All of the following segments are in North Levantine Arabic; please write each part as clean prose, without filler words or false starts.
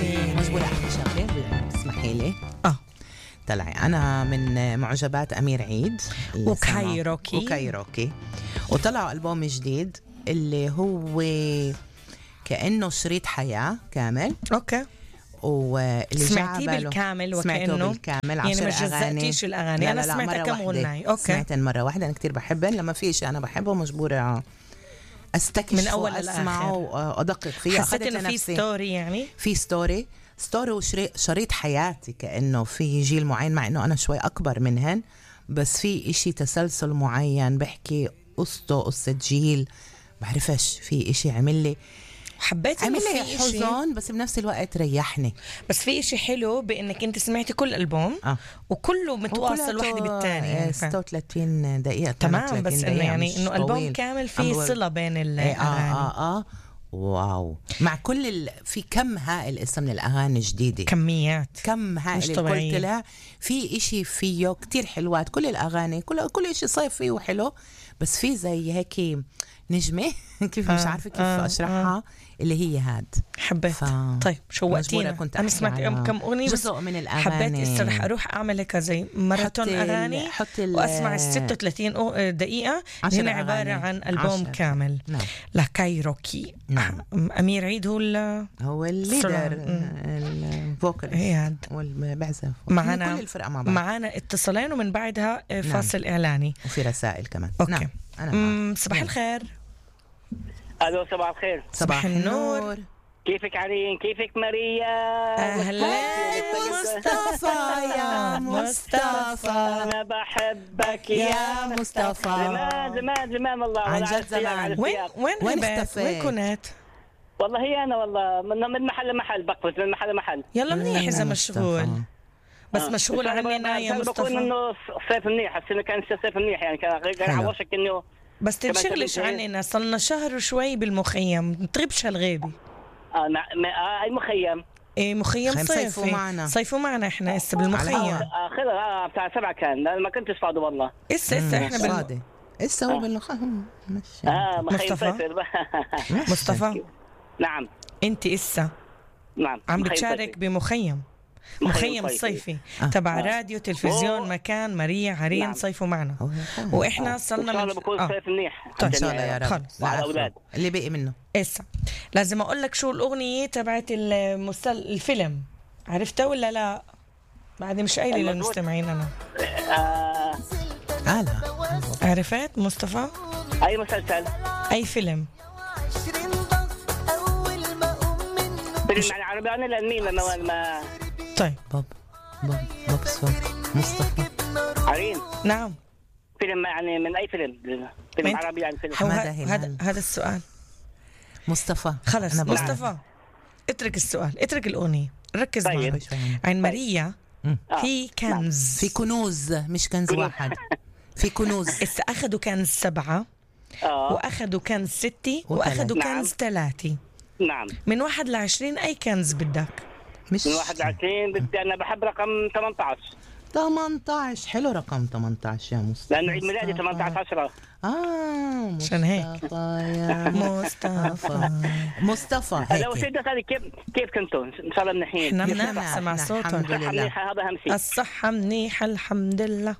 مجبورة أحكي شغلة اسمحي لي. طلعي أنا من معجبات أمير عيد وكايروكي وطلعوا ألبوم جديد اللي هو كأنه شريط حياة كامل. أوكي. واللي سمعتيه بالكامل وكأنه بالكامل يعني ما جزأتيش الأغاني؟ أنا سمعتها كم غناي. أوكي. سمعتها مرة واحدة. أنا كتير بحبها. لما في شيء أنا بحبه مجبورة أستكشف من أول وأسمعه وأدقق فيه. حسيت إنه في ستوري، يعني في ستوري وشريط حياتي كأنه في جيل معين، مع إنه أنا شوي أكبر منهن، بس في إشي تسلسل معين بحكي قصة جيل بعرفش. في إشي عمل لي حزن بس بنفس الوقت ريحني. بس في إشي حلو بإنك أنت سمعتي كل ألبوم وكله متواصل واحد بالتاني، يعني 36 دقيقة تمام. بس إنه يعني إنه ألبوم كامل فيه صلة بين الأغاني. واو. مع كل في كم هائل اسم من الأغاني جديدة، كم هائل الكل طلع في إشي فيه كتير حلوات. كل الأغاني كل إشي صيفي وحلو، بس في زي هيك نجمة كيف مش عارفة كيف أشرحها اللي هي هاد. حبيت. طيب شوقتينا. أنا سمعت كم أغنية بس من الأغاني. حبيت رح أروح أعمل هيك زي ماراثون أغاني وأسمع 36 دقيقة. هنا عبارة عن ألبوم كامل. نعم. لكايروكي. نعم. أمير عيد هو الليدر الفوكاليست والبعزف معنا. كل الفرقة مع بعض. معنا اتصالين ومن بعدها فاصل إعلاني وفي رسائل كمان. أوكي. نعم. صباح الخير. ألو صباح الخير. صباح النور. كيفك عرين؟ كيفك ماريا؟ أهلا مصطفى. يا مصطفى أنا بحبك يا مصطفى. زمان والله. عن جد زمان. وين كنت؟ والله هي أنا والله من محل لمحل بقفز من محل لمحل. يلا منيح إذا مشغول. بس مشغول عننا يا مصطفى. بقول إنه صيف منيح. حسينا كان صيف منيح، يعني كان عوشك إنه بس تنشغلش عننا. صلنا شهر وشوي بالمخيم. تغيبش هالغيبة. أي مخيم؟ إيه مخيم صيفوا معنا إحنا إسا بالمخيم. بتاع 7 كان. ما كنتش فاضي والله. إسا إحنا فاضي. إسا هو بالمخيم. مصطفى. نعم. أنت إسا نعم عم بتشارك بمخيم صيفي تبع راديو تلفزيون مكان ماريا عرين. نعم. صيفوا معنا وإحنا صلنا من بكون صيف منيح إن شاء الله يا رب. الأولاد اللي بقي منه. إسا لازم أقول لك شو الأغنية تبعت الفيلم. عرفتها ولا لا؟ بعد مش قايلة للمستمعين أنا. لا. عرفت مصطفى؟ أي مسلسل؟ أي فيلم؟ فيلم عربي. أنا لأنمين ما طيب بوب مصطفى عرين. نعم. فيلم يعني من أي فيلم عربي يعني فيلم. هذا السؤال مصطفى. خلص مصطفى اترك السؤال، اترك الأغنية، ركز طيب. معي. عن ماريا في كنز. في كنوز مش كنز واحد. في كنوز. أخذوا كنز 7 وأخذوا كنز 6 وأخذوا كنز 3. نعم. من 1 ل20 أي كنز بدك؟ مش من 1 ل20 بدي. أنا بحب رقم 18. حلو رقم 18 يا مصطفى. لأنه عيد ميلادي 18/10. عشان هيك يا مصطفى هيك. لو سيدنا هذه كيف كنتوا؟ إن شاء الله منيحين. احنا منيح سمع صوتهم. هذا أهم شيء. الصحة منيحة الحمد لله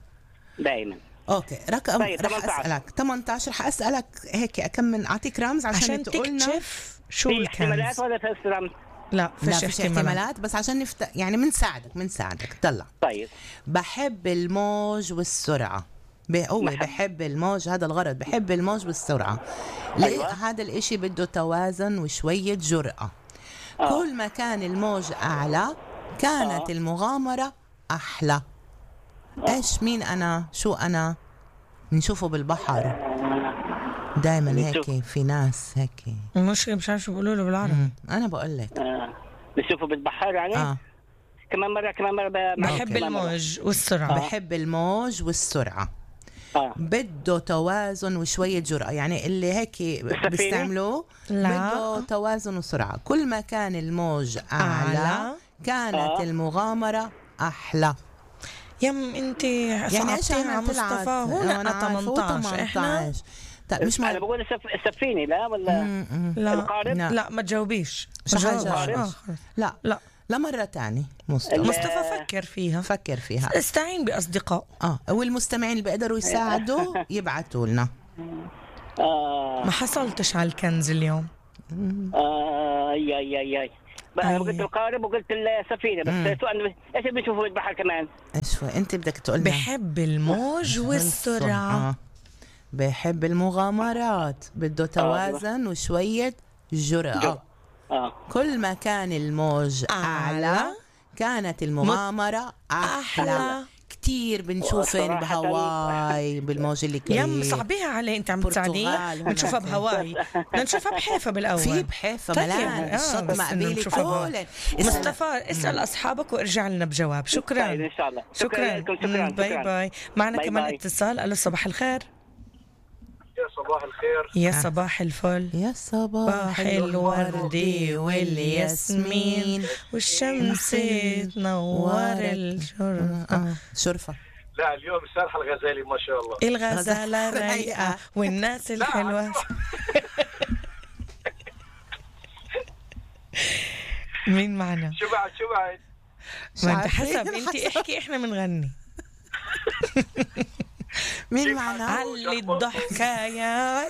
دائما. اوكي رقم. رح اسالك 18. حاسالك هيك اكمل اعطيك رمز عشان تقولنا تكتشف شو الكنز. احتمالات ولا فيش رمز؟ لا فيش احتمالات بس عشان يعني بنساعدك. طلع. طيب. بحب الموج والسرعة. بحب الموج. هذا الغرض. بحب الموج والسرعة. أيوة. هذا الاشي بده توازن وشوية جرأة. كل ما كان الموج أعلى كانت المغامرة أحلى. إيش مين أنا شو أنا نشوفه بالبحر دايما هيك. في ناس هيك مش عارف شو بيقولوا له بالعربي. أنا بقول لك بشوفه بالبحر يعني. كمان مرة بحب الموج والسرعة. بحب الموج والسرعة. بده توازن وشوية جرأة. يعني اللي هيك بيستعملوه بده توازن وسرعة. كل ما كان الموج أعلى كانت المغامرة أحلى. انت يعني صعبتيها مصطفى. هنا 18 احنا طيب مش أنا بقول السفينة لا ولا لا القارب؟ لا ما تجاوبيش. لا مرة تاني مصطفى فكر فيها استعين بأصدقاء والمستمعين اللي بيقدروا يساعدوا يبعتوا لنا. ما حصلتش على الكنز اليوم. اي قلت القارب وقلت السفينة بس سؤال ايش بنشوفوا البحر كمان؟ ايش انت بدك تقول لنا؟ بحب الموج والسرعة، بحب المغامرات، بده توازن وشوية جرأة. كل ما كان الموج أعلى كانت المغامرة أحلى كتير. بنشوفن بهواي بالموج اللي كبير. يا مصعبيها علي انت عم تساعديني. بنشوفها بهواي، بدنا نشوفها بحيفا بالاول. في بحيفا ملان الشط مقبيلي كلن. مصطفى اسال اصحابك وارجع لنا بجواب. شكرا ان شاء الله. شكرا. باي باي. معنا كمان اتصال. الو صباح الخير. يا صباح الخير. يا صباح الفل. يا صباح الورد والياسمين والشمس تنور الشرفة. لا اليوم سارحة الغزالي ما شاء الله. الغزالة رايقة والناس الحلوة. مين معنا؟ شو بعد ما انت حسب انت احكي احنا منغني. مين معنا؟ علي الضحكة يا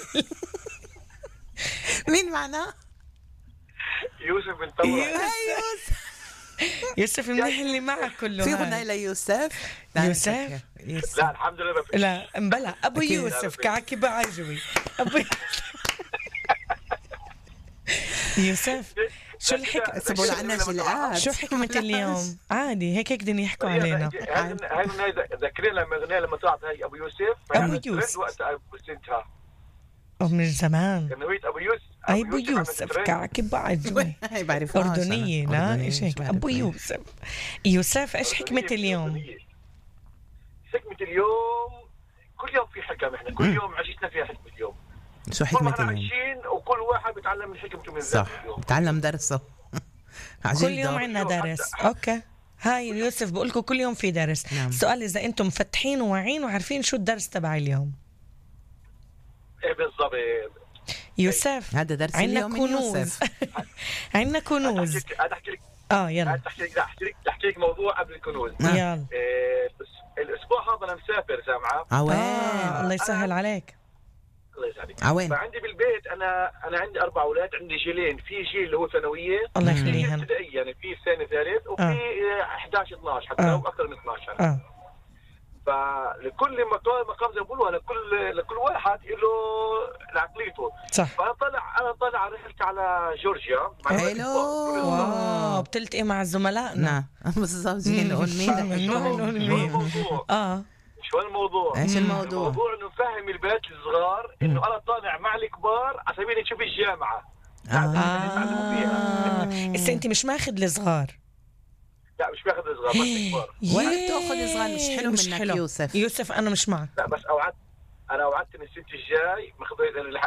مين معنا؟ يوسف بن طوى. يوسف منيح اللي معك كله. في غناء ليوسف؟ يوسف؟ لا الحمد لله ما في. لا مبلا ابو يوسف كعكي بعجوي. ابو يوسف شو الحكمة؟ سبوا لنا جلقات. شو حكمة اليوم؟ عادي هيك بدهم يحكوا علينا. هاي ذكرين لما اغنية لما طلعت هاي ابو يوسف. وقت ابو سنتها. من زمان. كنويت ابو يوسف. ابو يوسف كعكي بعجوي. هاي بعرفها. أردنية لا ايش هيك؟ ابو يوسف. يوسف ايش حكمة اليوم؟ حكمة اليوم كل يوم في حكم. احنا كل يوم عشتنا فيها حكمة اليوم. شو حكمة اليوم؟ عايشين وكل واحد بيتعلم من حكمته من ذاته اليوم. بتعلم درسه. كل يوم عندنا درس. اوكي هاي يوسف بقول لكم كل يوم في درس. نعم. السؤال اذا انتم مفتحين وواعين وعارفين شو الدرس تبع اليوم. ايه بالضبط يوسف. هذا درس اليوم من يوسف. عندنا كنوز. انا احكي لك يلا احكي لك موضوع قبل الكنوز. يلا. الاسبوع هذا انا مسافر سامعه. الله يسهل عليك. الله يسعدك. فعندي بالبيت انا عندي 4 اولاد. عندي جيلين، في جيل اللي هو ثانويه، الله يخليهم، ابتدائي يعني في ثاني ثالث، وفي 11 12 حتى لو اكثر من 12. فلكل مقام زي ما بيقولوا لكل واحد له عقليته. صح. فانا طالع رحلت على جورجيا. حلو. واو بتلتقي مع زملائنا. بالضبط. جايين نقول مين. شو الموضوع؟ ايش الموضوع؟ الموضوع انه نفهم البنات الصغار انه انا طالع مع الكبار على سبيل نشوف الجامعه. هسه انت مش ماخذ الصغار. لا مش باخذ الصغار بس الكبار. وين تاخذ صغار؟ مش حلو منك حلو. يوسف انا مش معك. لا بس اوعدت ان السنه الجاي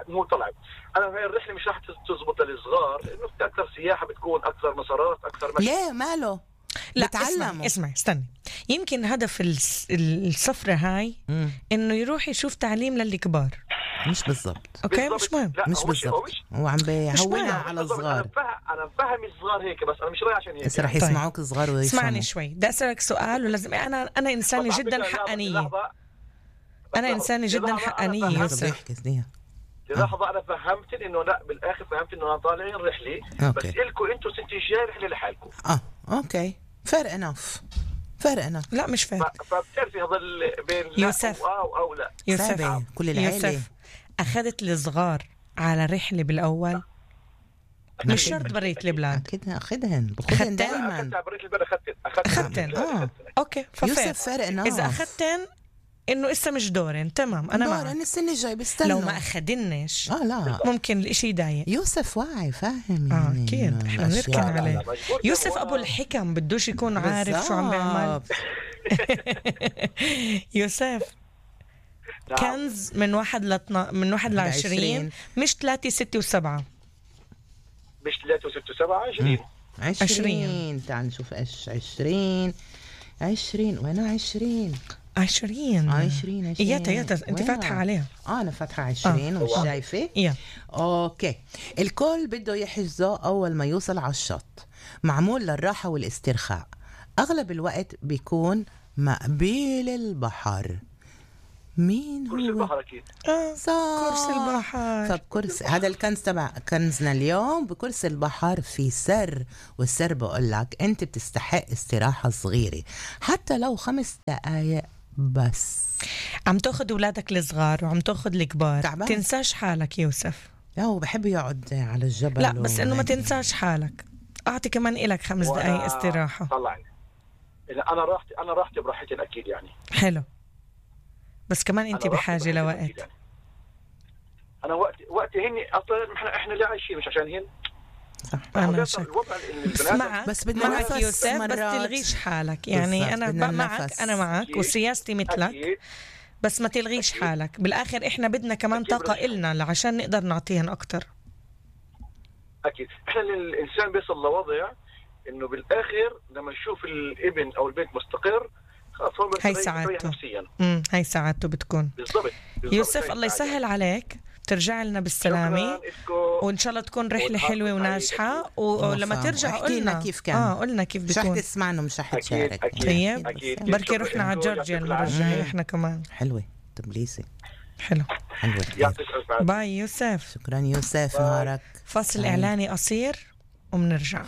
مو طلعت. انا هاي الرحله مش راح تزبط للصغار لانه في اكثر سياحه بتكون اكثر مسارات اكثر مشي. ليه ماله؟ لا اسمع استني. يمكن هدف السفرة هاي انه يروح يشوف تعليم للكبار. مش بالضبط. اوكي مش مهم. مش بالضبط. هو عم بيهونها على الصغار. انا مفهم الصغار هيك بس انا مش رايح عشان هيك. بس رح يسمعوك الصغار ويفهموا. اسمعني شوي بدي اسالك سؤال ولازم انا انسانه جدا حقانيه. انا انسانه جدا حقانيه. لحظة أنا فهمت إنه لا بالآخر فهمت إنه أنا طالعين رحلة. بس إلكم أنتوا سنتي الجاي رحلة لحالكم. أوكي fair enough. لا مش فارق. فبتعرفي هذا بين يوسف أو لا. يوسف كل العائلة. يوسف أخذت الصغار على رحلة بالأول. مش شرط بريت البلاد. أكيد أخذهن دائما. بريت البلاد أخذتن. أوكي يوسف fair enough. إذا أخذتن إنه إسا مش دورين تمام أنا معك. دورين السنة الجاي بستنى. لو ما أخدنش لا ممكن الإشي يضايق. يوسف واعي فاهم يعني. أكيد إحنا بنركن عليه. يوسف أبو الحكم بدوش يكون عارف شو عم بيعمل. يوسف كنز من 1 ل 20 مش 3 6 و7. مش 3 6 و7 20. تعال نشوف 20 وين 20 20 ياتا انت فاتحة عليها. أنا فاتحة 20 ومش شايفة. أوكي. الكل بده يحجزه أول ما يوصل على الشط، معمول للراحة والاسترخاء، أغلب الوقت بيكون مقبيل البحر. مين هو؟ كرسي البحر أكيد. صح، كرسي البحر. طب كرسي، هذا الكنز تبع كنزنا اليوم. بكرسي البحر في سر، والسر بقول لك أنت بتستحق استراحة صغيرة حتى لو 5 دقايق بس. عم تاخد أولادك الصغار وعم تاخد الكبار، تعبان. تنساش حالك يوسف. هو بحب يقعد على الجبل. لا بس إنه ما تنساش حالك، أعطي كمان إلك 5 دقايق استراحة. طلعني إذا أنا راحتي براحتي أكيد يعني. حلو، بس كمان أنت بحاجة لوقت. يعني. أنا وقتي هني أصلا إحنا اللي عايشين مش عشان هن. صح. أنا شك. بس بدنا معك يوسف، بس تلغيش حالك يعني. أنا معك، أنا معك وسياستي مثلك، بس ما تلغيش حالك. بالآخر إحنا بدنا كمان طاقة إلنا عشان نقدر نعطيهن أكتر. أكيد. إحنا الإنسان بيصل لوضع إنه بالآخر لما يشوف الابن أو البنت مستقر هاي سعادته. هاي سعادته بتكون. بالضبط. يوسف الله يسهل عليك، ترجع لنا بالسلامة وإن شاء الله تكون رحلة حلوة وناجحة. ولما ترجع قلنا كيف كان. قلنا كيف بتكون. مش رح تسمعنا ومش رح تشارك. طيب بركي رحنا على جورجيا المرة الجاية إحنا كمان. حلوة تبليسي. حلو. باي يوسف. شكرا يوسف، نهارك. فصل إعلاني قصير ومنرجع.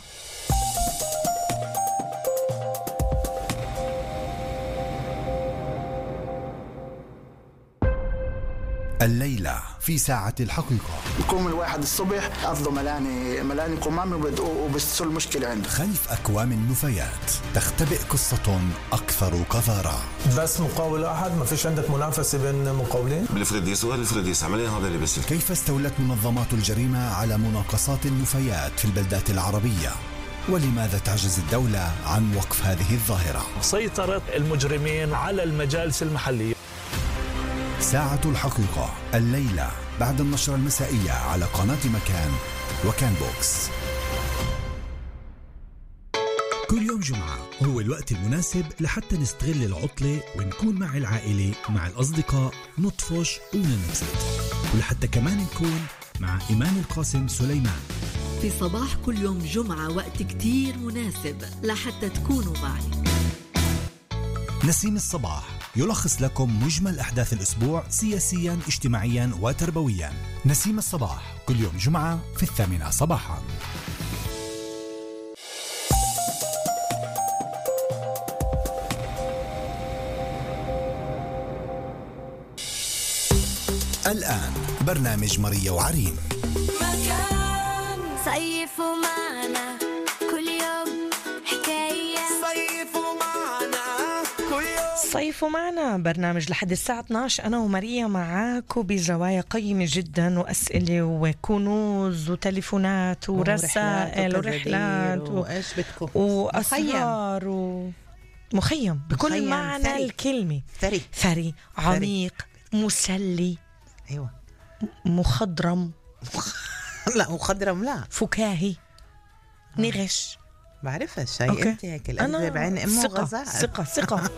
الليلة في ساعة الحقيقة. يقوم الواحد الصبح أفضل ملاني قمامي وبتصل المشكلة عنده. خلف أكوام النفايات تختبئ قصة أكثر قذارة. بس مقاول واحد، ما فيش عندك منافسة بين مقاولين؟ بالفريديس والفريديس عمليا هذا اللي بس. كيف استولت منظمات الجريمة على مناقصات النفايات في البلدات العربية؟ ولماذا تعجز الدولة عن وقف هذه الظاهرة؟ سيطرة المجرمين على المجالس المحلية. ساعة الحقيقة الليلة بعد النشرة المسائية على قناة مكان وكان بوكس. كل يوم جمعة هو الوقت المناسب لحتى نستغل العطلة ونكون مع العائلة مع الأصدقاء، نطفش وننبسط، ولحتى كمان نكون مع إيمان القاسم سليمان في صباح كل يوم جمعة. وقت كتير مناسب لحتى تكونوا معي. نسيم الصباح يلخص لكم مجمل أحداث الأسبوع سياسياً، اجتماعياً وتربوياً. نسيم الصباح كل يوم جمعة في 8 صباحاً. الآن برنامج ماريا وعرين. صيفوا معنا كل يوم حكاية. صيفوا معنا برنامج لحد الساعة 12. أنا وماريا معاكم بزوايا قيمة جدا، وأسئلة وكنوز وتليفونات ورسائل ورحلات وأسرار ومخيم بكل معنى الكلمة. ثري عميق مسلي. أيوة. مخضرم. لا مخضرم، لا فكاهي. نغش. بعرفها الشيء. انت هيك القلب بعين امه غزال. ثقة.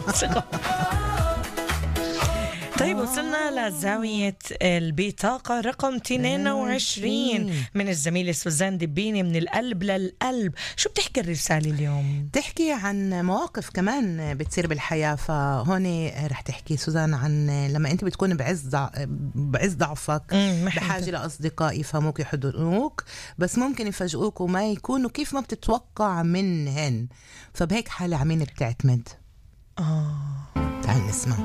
طيب وصلنا لزاوية البطاقة رقم 22 من الزميلة سوزان دبيني. من القلب للقلب، شو بتحكي الرسالة اليوم؟ تحكي عن مواقف كمان بتصير بالحياة. فهون رح تحكي سوزان عن لما انت بتكون بعز ضعفك، بحاجة لأصدقاء يفهموك يحضنوك، بس ممكن يفاجئوك وما يكونوا كيف ما بتتوقع منهن. فبهيك حالة عمين بتعتمد. تعال نسمع.